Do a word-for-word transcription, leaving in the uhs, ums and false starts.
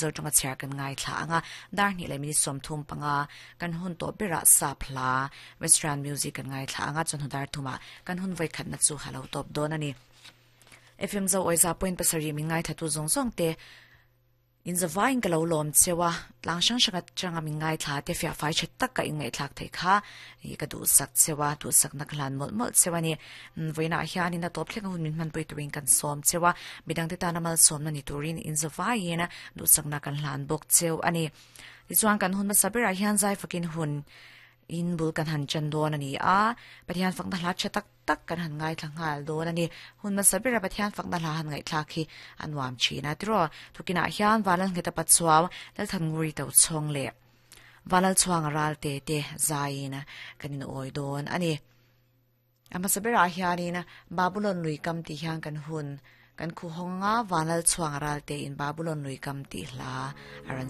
Zo tonga chhiar kan ngai thla anga dar ni le minute som thum panga kan hun to bera sap hla western music kan ngai thla anga chon dar thuma kan hun voi khat na chu halo top don ani F M zo oiza point pasari mi ngai thatu zong zong te in zawain ka lo lom chewa tlang sang sanga changa mi ngai thla te fia fai chet tak ka in ngai thlak thei kha i ka du sak chewa tu sak na khlan mol mol chewa ni voina hian in a top thleng hun min man pui turin kan som chewa midang te tana mal som na ni turin in zawain du sak na kan hlan bok cheu ani. Ti chuan kan hun ma sabira hian zai fakin hun in bul kan han chan don ani a Pathian fak na hla che tak tak kan han ngai thla ngal don ani. Hun ma sabira Pathian fak na hla han ngai thla khi anwam china tro thukina hian walal ngeta patchuaw lal than nguri to chong le walal chuang ral te te zaina kanin oi don ani. Ama sabira hianina Babylon lui kam ti hian kan hun kan khu honga vanal chuang ral te in Babylon lui kam ti hla aran.